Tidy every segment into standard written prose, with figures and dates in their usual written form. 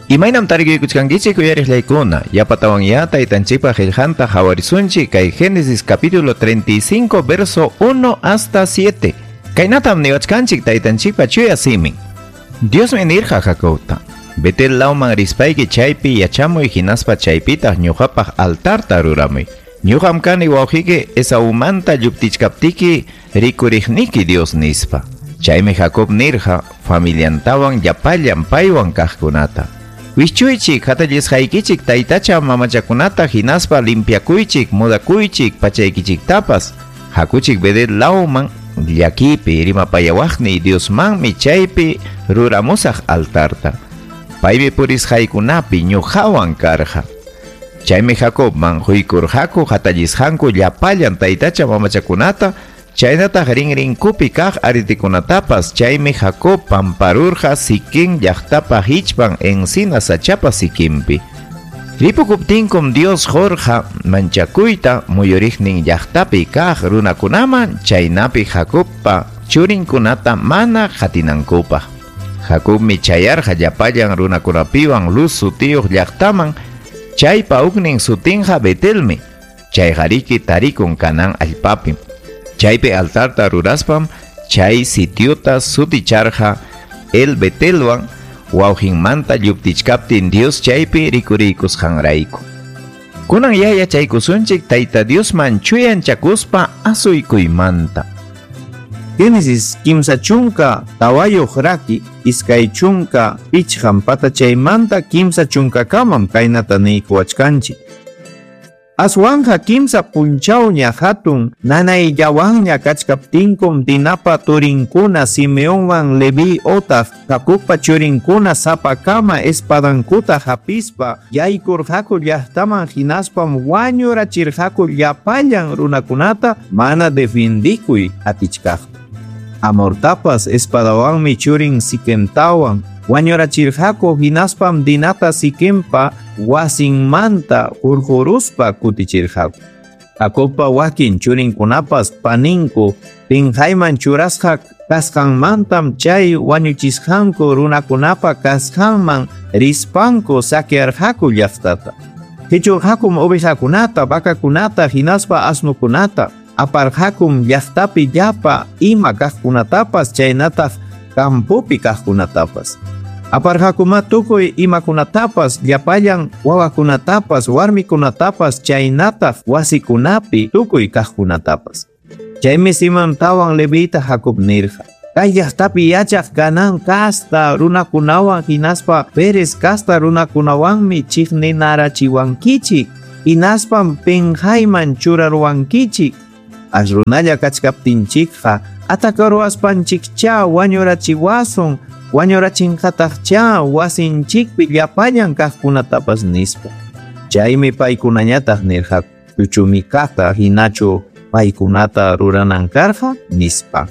Imaynam tarikuykuchkankichik uyariqllaykuna, yapatawanyá taytanchikpa qillqanta qhawarisunchik kay Génesis capítulo 35 verso 1 hasta 7. Kaynatam niwachkanchik taytanchikpa chuya simin. Diosmi nirqa Jacobta: Betel lawman rispayki chaypi yachamuy hinaspa chaypitaq ñuqapaq altarta ruramuy. Ñuqam kani wawqiyki Esaumanta lluptichkaptiki rikuriqniki Dios nispa. Chaymi Jacob nirqa familiantawan llapallan paywan kaqkunata: Wischuychik hatallisqaykichik taytacha mamachakunata hinaspa limpiakuychik mudakuychik pachaykichiktapas. Hakuchik Betel lawman llakipi rimapayawaqni Diosmanmi chaypi ruramusaq altarta. Paymi purisqaykunapi ñuqawan karqa. Chaymi Jacobman huykurqaku hatallisqanku llapallan taytacha mamachakunata, chaynataq rinrinkupi kaq aritikunatapas. Chaymi Jacob pamparurqa Siquem llaqtapa hichpan encina sachapa siquinpi. Ripukuptinkum Dios qurqa manchakuyta muyuriqnin llaqtapi kaq runakunaman, chaynapi Jacobpa churinkunata mana qatinankupaq. Jacobmi chayarqa llapallan runakunapiwan Luz sutiyuq llaqtaman, chaypa huknin sutinqa Betelmi, chayqariki tarikun Canaán allpapim. Chaypi altarta ruraspam chay sitiuta suticharqa El Betelwan, wawqinmanta lluptichkaptin Dios chaypi rikuriykusqanrayku. Kunan ya yachaykusunchik Tayta Diosman chuyanchakuspa asuykuymanta. Génesis 34 raki 25 patachaymanta 30kamam kaynata niykuwachkanchik. Aswanja 3 punchawña hatun nanayllawanña kachkaptinkum Dinapa turinkuna Simeonwan Leví otaq Jacobpa churinkuna sapakama espadankuta hapispa yaykurqaku llaqtaman hinaspam wañurachirqaku llapallan runakunata mana defendikuy atichkaqta. Amortapas espadawanmi churin Siquemtawan wañurachirqaku hinaspam Dinata Siquempa wasinmanta hurquruspa kutichirqaku. Jacobpa wakin churinkunapas paninku pinqayman churasqa kasqanmantam chay wañuchisqanku runakunapa kasqanman rispanku saquearqaku llaqtata. Qichurqakum ovejakunata, vacakunata hinaspa asnukunata, aparqakum llaqtapi llapa ima kaqkunatapas chaynataq campopi kaqkunatapas. Aparqakuma tukuy imakunatapas, llapallan wawakunatapas, warmikunatapas, chaynataq wasikunapi tukuy kaqkunatapas. Chaymi Simontawan Levita Jacob nirqa: Kay llaqtapi yachaq Canaán casta runakunawan hinaspa Pérez casta runakunawanmi chiqninarachiwankichik, hinaspam pinqayman churaruwankichik. As runalla kachkaptinchikqa atakaruwaspanchikcha wañurachiwasun, wañurachinqataqcha wasinchikpi llapallan kaqkunatapas nispa. Chaymi paykunañataq nirqaku: Chuchumikata hinachu paykunata ruranan karqa nispa.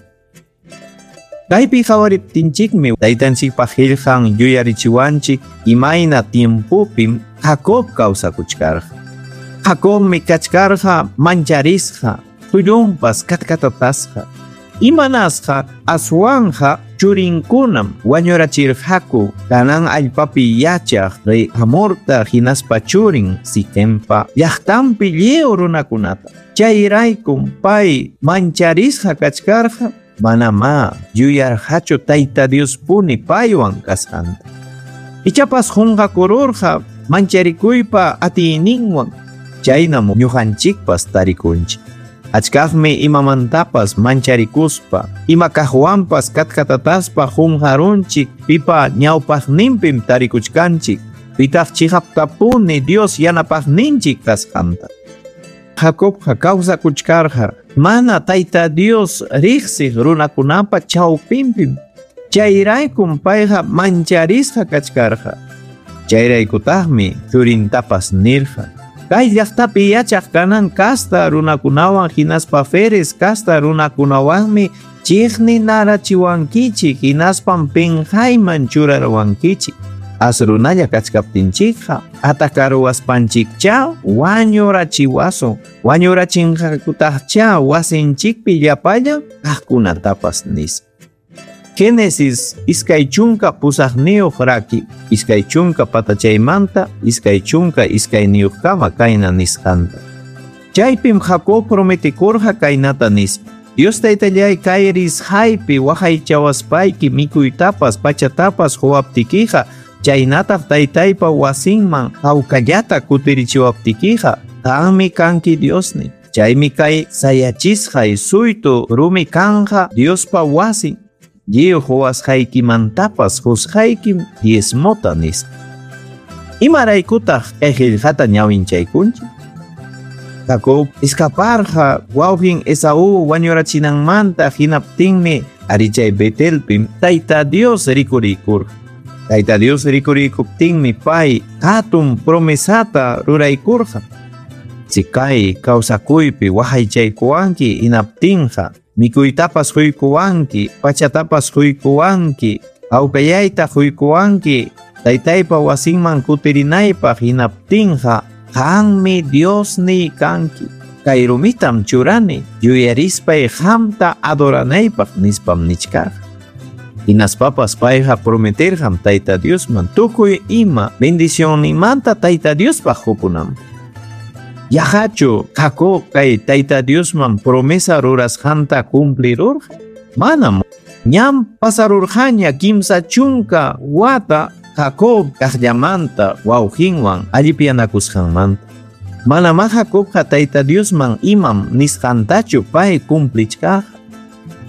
Kaypi qhawariptinchikmi taytanchikpa qillqan yuyarichiwanchik imayna tiempopim Jacob kawsakuchkarqa. Jacobmi kachkarqa mancharisqa, tullunpas katkatatasqa. Imanasqa aswanja churinkunam wañurachirqaku Canaán allpapi yachaq rey Hamorta hinaspa churin Siquempa llaqtanpi lliw runakunata. Chayraykum pay mancharisqa kachkarqa, manamá yuyarqachu Tayta Diospuni paywan kasqanta. Ichapas qunqakururqa mancharikuypa atiyninwan, chaynam ñuqanchikpas tarikunchik. Achkaqmi imamantapas mancharikuspa, ima kaqwanpas katkatataspa qunqarunchik, pipa ñawpaqninpim tarikuchkanchik, pitaq chiqaptapuni Dios yanapaqninchik kasqanta. Jacobqa kawsakuchkarqa mana Tayta Dios riqsiq runakunapa chawpinpim. Chayraykum payqa mancharisqa kachkarqa. Chayraykutaqmi churintapas nirqa: Kay llaqtapi yachaq Canaán casta runakunawan hinaspa Feres casta runakunawanmi chiqninarachiwankichik hinaspam pinqayman churaruwankichik. As runalla kachkaptinchikqa atakaruwaspanchikcha wañurachiwasun, wañurachinqakutaqcha wasinchikpi llapallan kaqkunatapas nispa. Génesis 28 raki, 20 patachaymanta, 22niyuqkama kayna nisqanta. Chaypim Jacob prometikurqa kaynata nispa: Dios taytallay kay risqaypi waqaychawaspayki mikuytapas pachatapas quwaptikiqa, chaynataq taytaypa wasinman hawkallata kutirichiwaptikiqa, qanmi kanki Diosni. Chaymi kay sayachisqay suytu rumi kanqa Diospa wasin. Lliw quwasqaykimantapas qusqaykim diezmota nispa. Imaraykutaq kay qillqata ñawinchaykunchik? Jacob escaparqa wawqin Esaú wañurachinanmanta, hinaptinmi ari chay Betelpim Tayta Dios rikuriykurqa. Tayta Dios rikuriykuptinmi pay hatun promesata ruraykurqa. Si kay kawsakuypi waqaychaykuwanki hinaptinqa mikuytapas quykuwanki, pachatapas quykuwanki, hawkayayta quykuwanki, taytaypa wasinman kutirinaypaq hinaptinqa qanmi Diosniy kanki. Kay rumitam churani yuyarispay qamta adoranaypaq nispam nichkarqa. Hinaspapas payqa prometerqam Tayta Diosman tukuy ima bendicionninmanta Tayta Diospaq qupunanpaq. Yaqachu Jacob kay Tayta Diosman promesa rurasqanta cumplirurqa? Manam. Ñam pasarurqaña 30 wata Jacob kaqllamanta wawqinwan allipyanakusqanmanta. Manamá Jacobqa Tayta Diosman imam nisqantachu pay cumplichkarqa.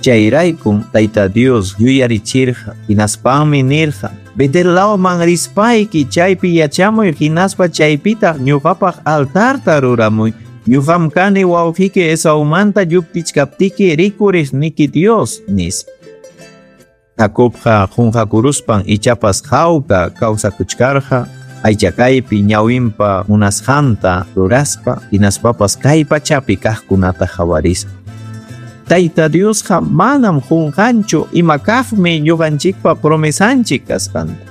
Chayraykum Tayta Dios yuyarichirqa, hinaspanmi nirqa: Betel lawman rispayki chaypi yachamuy, hinaspa chaypitaq ñuqapaq altarta ruramuy. Ñuqam kani wawqiki Esaumanta lluptichkaptiki rikuriqniki Dios, nispa. Jacobqa qunqakuruspan ichapas hawka kawsakuchkarqa, aychakaypi ñawinpa munasqanta ruraspa, hinaspapas kay pachapi kaqkunata qawarispa. Tayta Diosqa manam qunqanchu ima kaqmi ñuqanchikpa promesanchik kasqanta.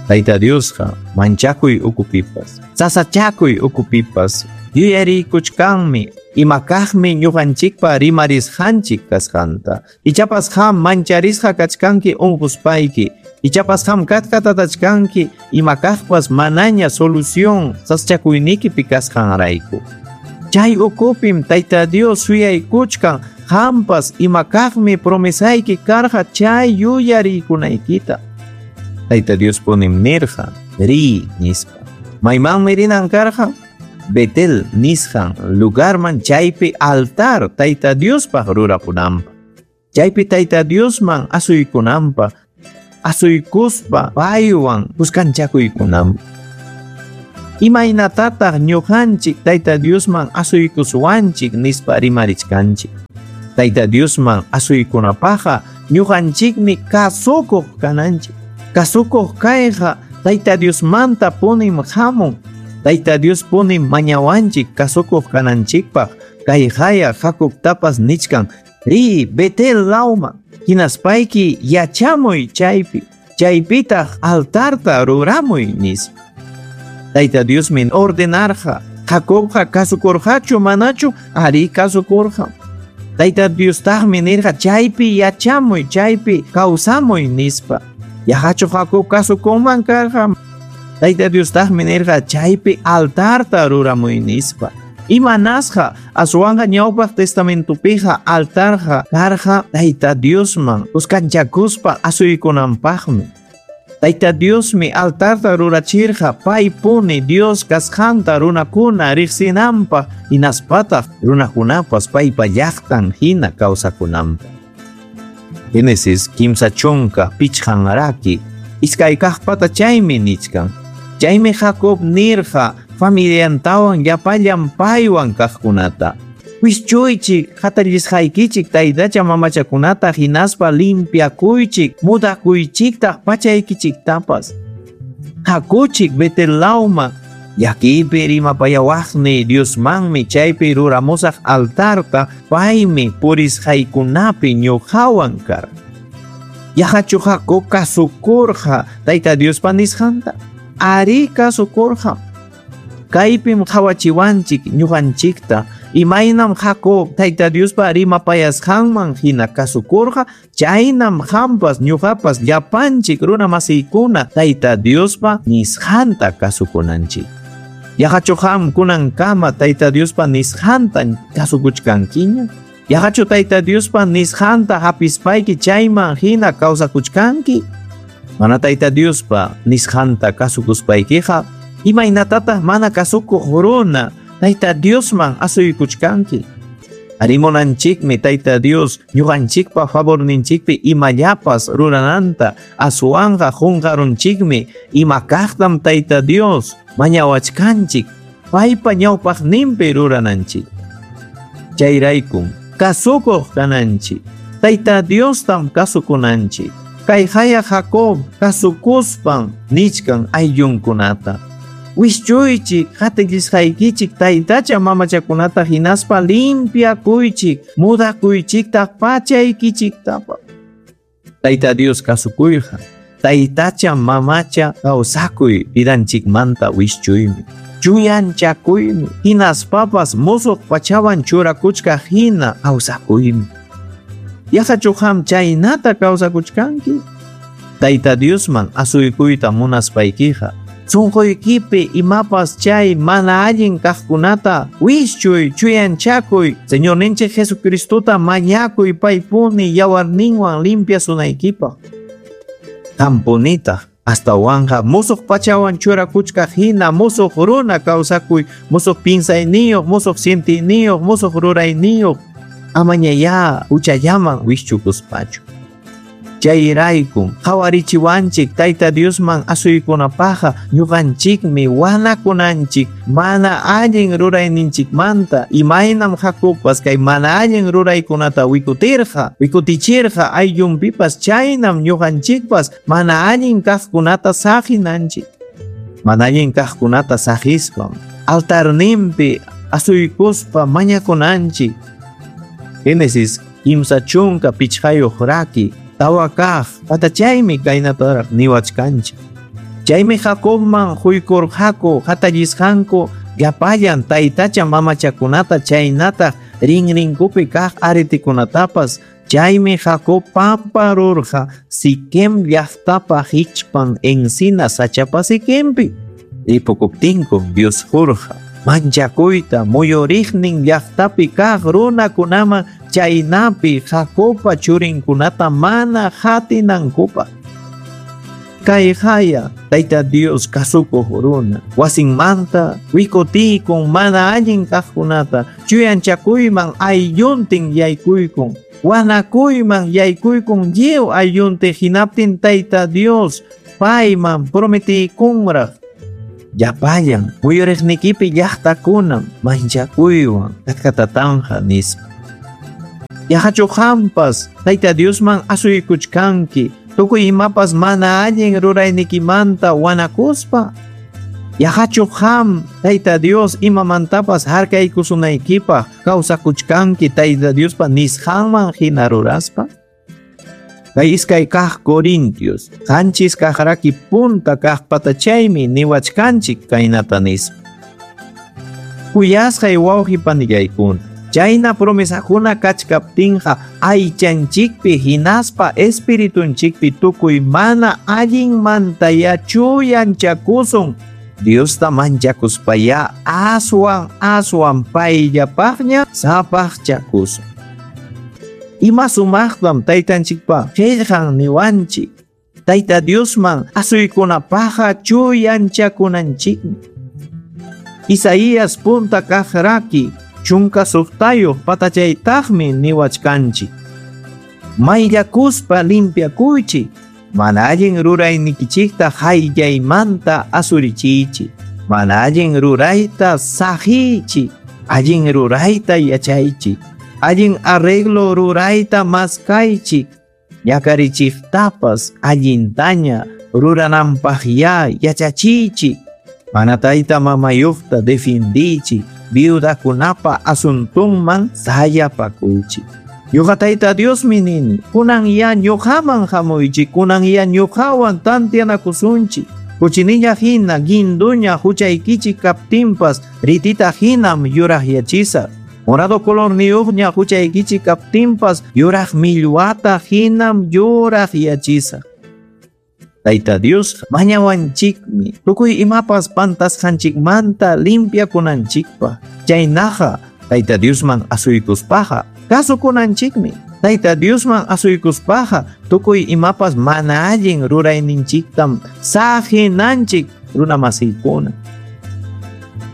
Tayta Diosqa manchakuy ukupipas, sasachakuy ukupipas yuyariykuchkanmi ima kaqmi ñuqanchikpa rimarisqanchik kasqanta. Ichapas qam mancharisqa kachkanki unquspayki, ichapas qam katkatatachkanki ima kaqpas manaña solución sasachakuynikipi kasqanrayku. Chay ukupim Tayta Dios suyaykuchkan qampas ima kaqmi promesayki karqa chay yuyariykunaykita. Tayta Dios punim nirqa: riy nispa. Maymanmi rinan karqa? Betel nisqan lugarman, chaypi altar Tayta Diospaq rurapunanpaq. Chaypi Tayta Diosman asuykunanpaq, asuykuspa paywan kuskanchakuykunanpaq. Imaynatataq ñuqanchik Tayta Diosman asuykuswanchik nispa rimarichkanchik? Tayta Diosman asuykunapaqqa ñuqanchikmi kasukuq kananchik. Kasukuq kayqa Tayta Diosmanta punim hamun. Tayta Dios punim mañawanchik kasukuq kananchikpaq. Kay haya Jacobtapas nichkan: riy Betel lawman, hinaspayki yachamuy chaypi, chaypitaq altarta ruramuy nispa. Tayta Diosmi ordenarqa. Jacobqa kasukurqachu manachu? Ari kasukurqa. Tayta Diostaqmi nirqa: chaypi yachamuy, chaypi kawsamuy nispa. Yaqachu Jacob kasukunman karqa? Tayta Diostaqmi nirqa: chaypi altarta ruramuy nispa. Imanasqa aswanqa ñawpaq testamentupiqa altarqa karqa Tayta Diosman kuskanchakuspa asuykunanpaqmi. Tayta Diosmi altarta rurachirqa paypuni Dios kasqanta runakuna riqsinanpaq, hinaspataq runakunapas paypa llaqtan hina kawsakunanpaq. Génesis 35 raki iskay kaqpata chaymi nichkan. Chaymi Jacob nirqa familiantawan llapallan paywan kaqkunata: wischuychik hatallisqaykichik taytacha mamachakunata hinaspa limpiakuychik mudakuychiktaq pachaykichiktapas. Hakuchik Betel lawman, llakipi rimapayawaqni Diosmanmi chaypi ruramusaq altarta, paymi purisqaykunapi ñuqawan karqa. Yaqachu Jacob kasukurqa Tayta Diospa nisqanta? Ari kasukurqa. Kaypim qawachiwanchik ñuqanchikta Imaynam Jacob Tayta Diospa rimapayasqanman hina kasukurqa, chaynam qampas ñuqapas llapanchik runa masiykuna Tayta Diospa nisqanta kasukunanchik. Yaqachu qam kunankama Tayta Diospa nisqanta kasukuchkankiña? Yaqachu Tayta Diospa nisqanta hapispayki chayman hina kawsakuchkanki? Mana Tayta Diospa nisqanta kasukuspaykiqa, imaynatataq mana kasukuq runa Tayta Diosman asuykuchkanki? Arimunanchikmi Tayta Dios ñuqanchikpa favorninchikpi imallapas rurananta, aswanqa qunqarunchikmi ima kaqtam Tayta Dios mañawachkanchik paypa ñawpaqninpi rurananchik. Chayraykum kasukuq kananchik, Tayta Diostam kasukunanchik. Kay haya Jacob kasukuspan nichkan ayllunkunata. Wischuychik qatillisqaykichik taytacha mamachakunata hinaspa limpiakuychik, mudakuychiktaq pachaykichiktapa. Tayta Dios kasukuyqa, taytacha mamacha kawsakuy vidanchikmanta wischuymi, chuyanchakuymi, hinaspapas musuq pachawan churakuchkaq hina kawsakuymi. Yaqachu qam chaynata kawsakuchkanki? Tayta Diosman asuykuyta munaspaykiqa, sunquykipi imapas chay mana allin kaqkunata wischuy, chuyanchakuy, Señorninchik Jesucristota mañakuy paypuni yawarninwan limpiasunaykipaq. Qampunitaq astawanqa musuq pachawan churakuchkaq hina musuq runa kawsakuy, musuq pinsayniyuq, musuq sientiyniyuq, musuq rurayniyuq, amañayá huchallaman wischukuspachu. Chayraykum qhawarichiwanchik Tayta Diosman asuykunapaqqa ñuqanchikmi wanakunanchik mana allin rurayninchikmanta, imaynam Jacobpas kay mana allin ruraykunata wikutirqa, wikutichirqa ayllunpipas, chaynam ñuqanchikpas mana allin kaqkunata saqinanchik. Mana allin kaqkunata saqispam altarninpi asuykuspa mañakunanchik. Génesis 35 raki tawa kaq patachaymi kaynataraq niwachkanchik. Chaymi Jacobman huykurqaku hatallisqanku llapallan taytacha mamachakunata chaynataq rinrinkupi kaq aretikunatapas. Chaymi Jacob pamparurqa Siquem llaqtapa hichpan encina sachapa Siquempi. Ripukuptinkum Dios qurqa manchakuyta muyuriqnin llaqtapi kaq runakunaman chaynapi Jacobpa churinkunata mana hatinankupaq. Kay haya Tayta Dios kasukuq runa wasinmanta wikutiykun mana allin kaqkunata chuyanchakuyman aylluntin yaykuykun, wanakuyman yaykuykun lliw aylluntin, hinaptin Tayta Dios payman prometiykunraq llapallan muyuriqnikipi llaqtakunam manchakuywan katkatatanqa nispa. Yaqachu qampas Tayta Diosman asuykuchkanki tukuy imapas mana allin ruraynikimanta wanakuspa? Yaqachu qam Tayta Dios imamantapas harkaykusunaykipaq kawsakuchkanki Tayta Diospa nisqanman hina ruraspa? Kay iskay kaq Corintios 7 kaq raki punta kaq patachaymi niwachkanchik kaynata nispa. Kuyasqay wawqi panillaykuna, chayna promesakuna kachkaptinqa aychanchikpi hinaspa espiritunchikpi tukuy mana allinmantaya chuyanchakusun. Diosta manchakuspaya aswan aswan payllapaqña sapaqchakusun. Ima sumaqtam taytanchikpa qillqan niwanchik. Tayta Diosman asuykunapaqqa chuyanchakunanchikmi. Isaías punta kaq raki 16 patachaytaqmi niwachkanchik. Mayllakuspa limpiakuychik, mana allin ruraynikichikta hayllaymanta asurichiychik, mana allin rurayta saqiychik, allin rurayta yachaychik, allin arreglo rurayta maskaychik, ñakarichiktapas allintaña rurananpaqya yachachiychik, mana tayta mamayuqta defendiychik, viudakunapa asuntunman sayapakuychik. Ñuqa Tayta Diosmi nini, kunan ya ñuqaman hamuychik, kunan ya ñuqawan tantianakusunchik. Kuchinilla hina, guinduña huchaykichik kaptinpas, ritita hinam yuraqyachisaq. Morado colorniyuqña huchaykichik kaptinpas yuraq millwata hinam yuraqyachisaq. Tayta Dios mañawanchikmi tukuy imapas pantasqanchikmanta limpiakunanchikpaq. Chaynaqa Tayta Diosman asuykuspaqa kasukunanchikmi. Tayta Diosman asuykuspaqa tukuy imapas mana allin rurayninchiktam saqinanchik runamasiykuna.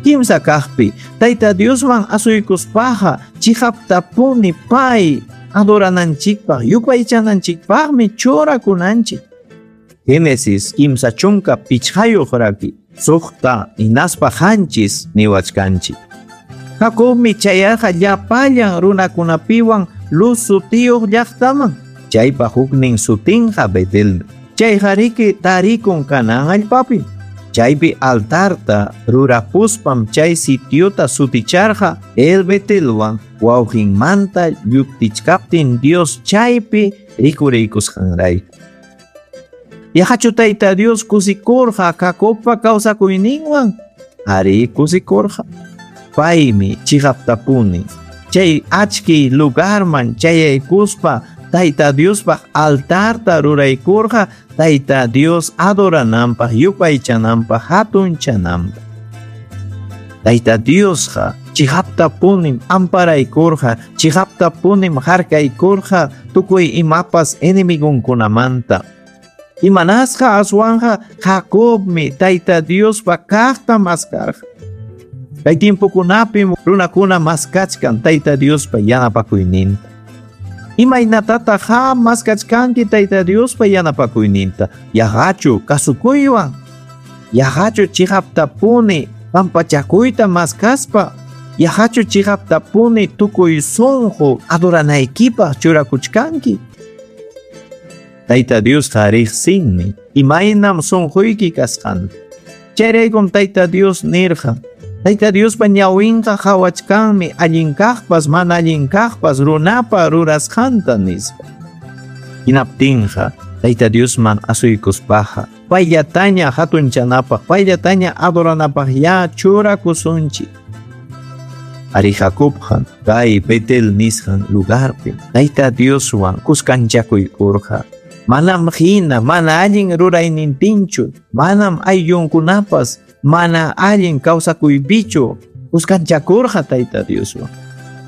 Kimsa kaqpi Tayta Diosman asuykuspaqa chiqaptapuni pay adorananchikpaq yupaychananchikpaqmi churakunanchik. Génesis 35 raki 6 hinaspa 7 niwachkanchik. Jacobmi chayarqa llapallan runakunapiwan Luz sutiyuq llaqtaman. Chaypa huknin sutinqa Betelmi. Chayqariki tarikun Canaán allpapi. Chaypi altarta rurapuspam chay sitiota suticharqa El Betelwan wawqinmanta lluptichkaptin Dios chaypi rikuriykusqanrayku. Yaqachu Tayta Dios kusikurqa Jacobpa kawsakuyninwan? Arí, kusikurqa. Paymi chiqaptapuni chay achkiy lugarman chayaykuspa Tayta Diospaq altarta ruraykurqa Tayta Dios adorananpaq, yupaychananpaq, hatunchananpaq. Tayta Diosqa chiqaptapunim amparaykurqa, chiqaptapunim harkaykurqa tukuy imapas enemigonkunamanta. Imanasqa aswanqa Jacobmi Tayta Diospa kaqta maskarqa. Kay tiempokunapim runakuna maskachkan Tayta Diospa yanapakuyninta. Imaynatataq qam maskachkanki Tayta Diospa yanapakuyninta? Yaqachu kasukuywan? Yaqachu chiqaptapuni pampachakuyta maskaspa? Yaqachu chiqaptapuni tukuy sunqu adoranaykipaq churakuchkanki? Tayta Diosqa riqsinmi imaynam sunquyki kasqanta. Chayraykum Tayta Dios nirqa: Tayta Diospa ñawinqa qawachkanmi allin kaqpas mana allin kaqpas runapa rurasqanta, nispa. Hinaptinqa Tayta Diosman asuykuspaqa payllataña hatunchanapaq, payllataña adoranapaq ya churakusunchik. Ari Jacobqa kay Betel nisqan lugarpi Tayta Dioswan kuskanchakuykurqa. Manam hina mana allin ruraynintinchu, manam ayllunkunapas mana allin kawsakuypichu kuskanchakurqa Tayta Dioswan.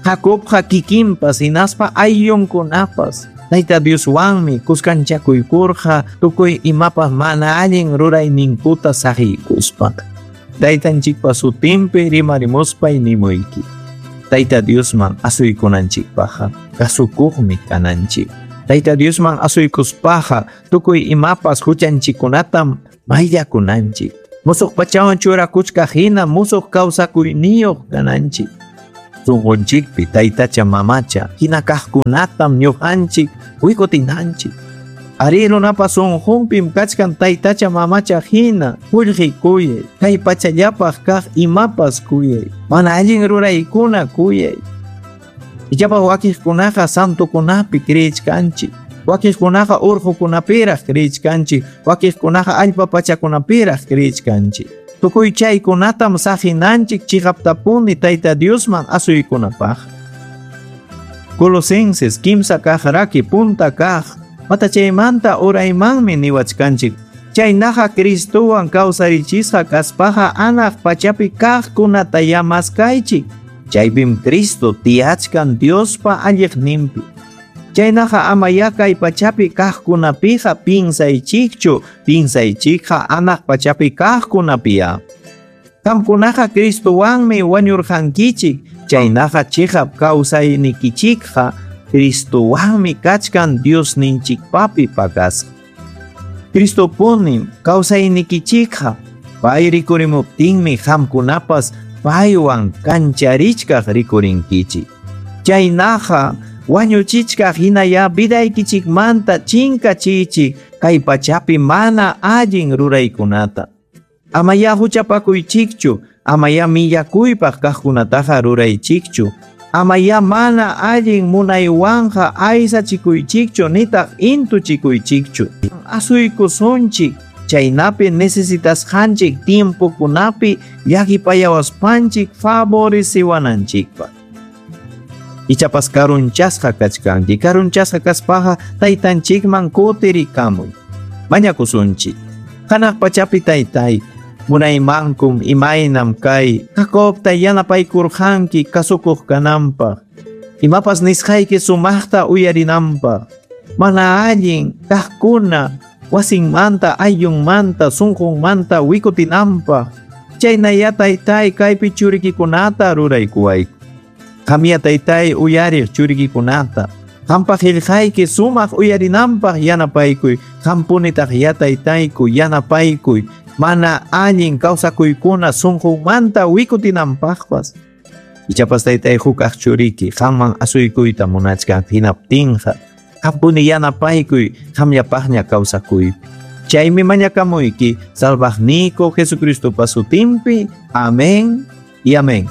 Jacobqa kikinpas hinaspa ayllunkunapas Tayta Dioswanmi kuskanchakuykurqa tukuy imapas mana allin rurayninkuta saqiykuspa. Taytanchikpa sutinpi rimarimuspay nimuyki. Tayta Diosman asuykunanchikpaqqa kasukuqmi kananchik. Tayta Diosman asuykuspaqa tukuy imapas huchanchikkunatam mayllakunanchik. Musuq pachawan churakuchkaq hina musuq kawsakuyniyuq kananchik. Sunqunchikpi taytacha mamacha hina kaqkunatam ñuqanchik wikutinanchik. Ari runapa sunqunpim kachkan taytacha mamacha hina qullqi kuyay, kay pachallapaq kaq imapas kuyay, mana allin ruraykuna kuyay. Ichapas wakiqkunaqa santokunapi creechkanchik, wakiqkunaqa urqukunapiraq creechkanchik, wakiqkunaqa allpa pachakunapiraq creechkanchik. Tukuy chaykunatam saqinanchik chiqaptapuni Tayta Diosman asuykunapaq. Colosenses 3 kaq raki punta kaq matachaymanta uraymanmi niwachkanchik. Chaynaqa Cristowan kawsarichisqa kaspaqa anaq pachapi kaqkunata maskaychik. Chaypim Cristo tiyachkan Diospa alliqninpi. Chaynaqa amaya kay pachapi kaqkunapiqa pinsaychikchu, pinsaychikqa anaq pachapi kaqkunapiya. Qamkunaqa Cristowanmi wañurqankichik, chaynaqa chiqap kawsaynikichikqa Cristowanmi kachkan Diosninchikpapi pakasqa. Cristopunim kawsaynikichikqa, pay rikurimuptinmi qamkunapas paywan kancharichkaq rikurinkichik. Chaynaqa wañuchichkaq hinaya vidaykichikmanta chinkachiychik kay pachapi mana allin ruraykunata. Amaya huchapakuychikchu, amaya millakuypaq kaqkunataqa ruraychikchu, amaya mana allin munaywanqa aysachikuychikchu nitaq intuchikuychikchu. Asuykusunchik chaynapi necesitasqanchik tiempokunapi llakipayawaspanchik favoreciwananchikpaq. Ichapas karunchasqa kachkanki. Karunchasqa kaspaqa taytanchikman kutirikamuy. Mañakusunchik. Hanaq pachapi taytay, munaymankum imaynam kay Jacobta yanapaykurqanki kasukuq kananpaq. Imapas nisqayki sumaqta uyarinanpaq. Mana allin kaqkuna wasinmanta, ayllunmanta, sunqunmanta wikutinanpaq. Chaynaya taytay kaypi churikikunata ruraykuwayku. Qamya taytay uyariq churikikunata. Qampa qillqayki sumaq uyarinanpaq yanapaykuy. Qampunitaq ya taytayku yanapaykuy. Mana allin kawsakuykuna sunqunmanta wikutinanpaqpas. Ichapas taytay hukaq churiki qamman asuykuyta munachkan hinaptinqa qampuni yanapaykuy qamllapaqña kawsakuypi. Chaymi mañakamuyki salvaqniyku Jesucristopa sutinpi. Amén y amén.